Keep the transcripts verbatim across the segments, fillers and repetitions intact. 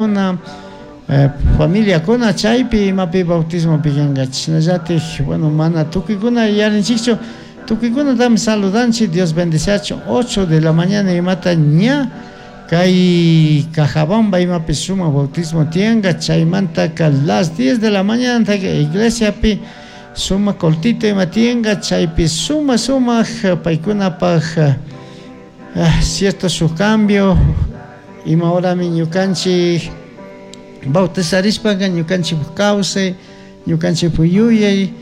Una eh, familiakuna chaypi imapi bautismopi kanka chashnallatik, bueno, mana tukuykuna yarinchikchu, tukuykunatami saludanchik. Dios bendeciachun. ocho de la mañana imata ña kay Cajabamba imapi sumak bautismo tiyanka. Chaymantaka las diez de la mañana iglesiapi sumak cultito ima tiyanka. Chaypi sumak sumak paykunapak eh, cierto su cambio ima horami ñukanchik bautizarishpaka ñukanchik kawsay, ñukanchik yuyay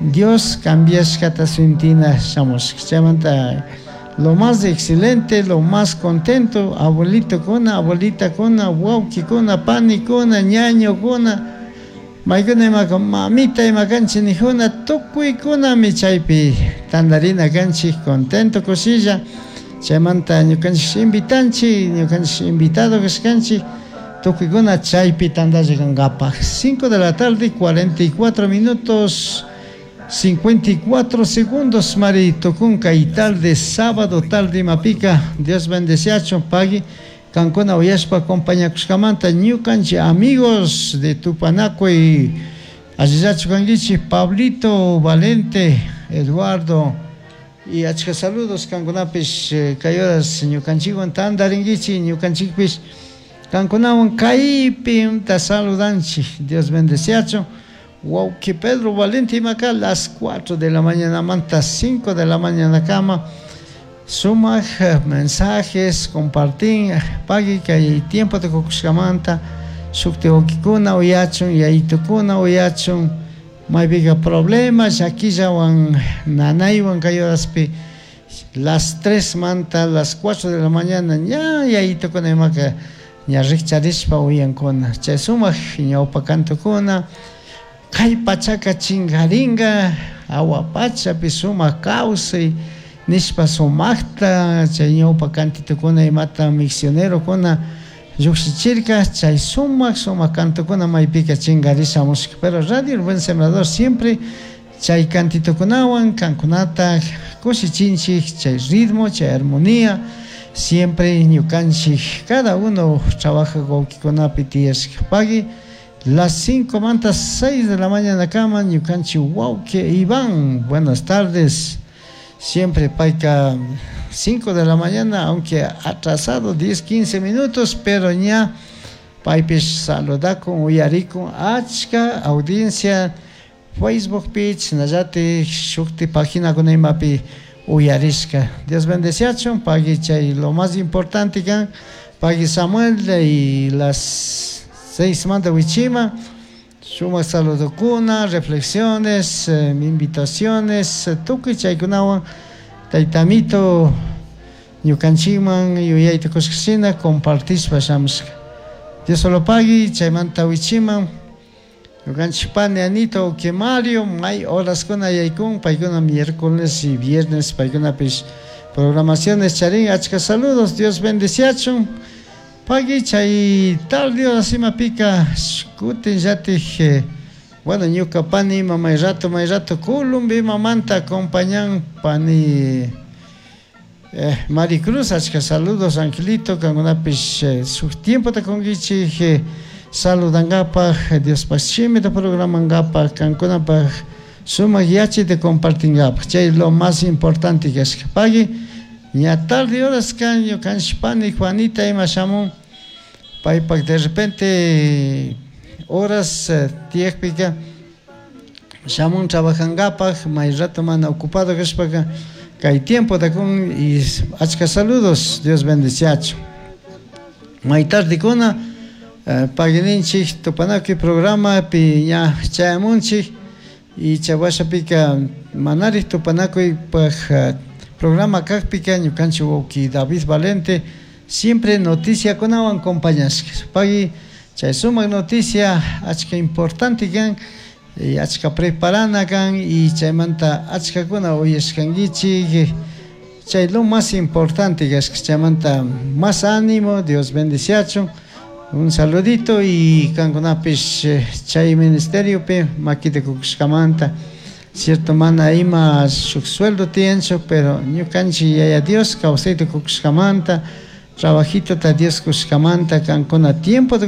Dios cambiashkata sintina shamushka. Chaymanta lo más excelente, lo más contento, abuelitokuna, abuelitakuna, wawkikuna, panikuna, ñañokuna, maykuna imaka mamita ima kanchik nijuna, tukuykunami chaypi tandarina kanchik contento, kushilla. Chaymanta ñukanchik invitanchik, ñukanchik invitado kashkanchik tukuykuna chaypi tandalla kankapaj. cinco de la tarde, cuarenta y cuatro minutos, cincuenta y cuatro segundos, mari tukunka y tarde, sábado tarde imapika. Dios bendeciachun, pagui kankuna uyashpa acompañakushkamanta. Ñukanchik amigos de Tupanacuy, allillachu kankichik? Pablito Valente, Eduardo y achka saludos kankunapish. eh, kay horas ñukanchikwan tandarinkichik, ñukanchikpish kankunawan kaypi ta saludanchik. Dios bendeciachun. Wawki Pedro Valente imaka las cuatro de la mañana manta cinco de la mañana kama sumak eh, mensajes compartin. Pagui kay tiempo tukukushkamanta shukti wawkikuna uyachun, yayitukuna uyachun, maypika problema llakillawan nanaywan kay horaspi las tres manta las cuatro de la mañana ña yayitukuna imaka ña rikcharishpa uyankuna chay sumak ñawpa cantukuna, kay pachaka chinkarinka, awa pachapi sumak kawsay nishpa sumakta chay ñawpa cantitukuna imata misionerokuna llukshichirka. Chay sumak sumak cantukuna maypika chinkarishamushka, pero Radio El Buen Sembrador siempre chay cantitukunawan kankunata kushichinchik. Chay ritmo, chay armonía siempre ñukanchik cada uno trabaja wawkikunapi tiyashka. Pagui, las cinco manta seis de la mañana kama ñukanchik wawki Iván, buenas tardes. Siempre payka cinco de la mañana, aunque atrasado diez, quince minutos, pero ña paypish saludakun, uyarikun. Achka audiencia Facebook page shinallatik shukti paginakuna imapi uyarishka. Dios bendeciachun. Pagui, chay lo más importante kan. Pagui Samuel, y las seis manta wichima sumak saludokuna, reflexiones, eh, invitaciones, eh, tukuy chaykunawan taytamito ñukanchikman yuyayta kushkashina compartishpa shamushka. Dios solo pagui. Chaymanta wichiman ñukanchik pani Anito uki Mario may horaskuna yaykun, paykuna miércoles y viernes paykunapish programaciones charin. Achka saludos, Dios bendeciachun. Pagui, chay tarde horas imapika kutin llatik eh, bueno, ñuka pani ima may rato may rato Colombia imamanta acompañan pani eh, Maricruz. Achka saludos, Angelito, kankunapish eh, suk tiempota kunkichik eh, saludangapak, Diospaj shimita programangapak, kankunapak sumak yachayta compartingapak. Chay lo más importante kashka. Pagui, ña tarde horas kan ñukanchik pani Juanita ima shamun, paypak de repente horas eh, tiyakpika shamun trabajangapak, may rato mana ocupado kashpaka kay tiempota kun y achka saludos, Dios bendeciachu. May tardekuna eh, paguininchik Tupanakuy programapi ña chayamunchik y chawashapika manarik Tupanakuypaj eh, programa kakpika ñukanchik wawki David Valente siempre noticiakunawan acompañashka. Pagui, chay sumak noticia achka importante kan y achka preparana kan y chaymanta achkakuna uyashkankichik. Chay lo más importante kashka. Chaymanta más ánimo, Dios bendeciachun. Un saludito y kankunapish eh, chay ministeriopi makita kukushkamanta. Cierto, mana ima shuk sueldo tiyanchu, pero ñukanchik Yaya Dios kawsayta kukushkamanta. Trabajitota Dios kushkamanta kankuna tiempo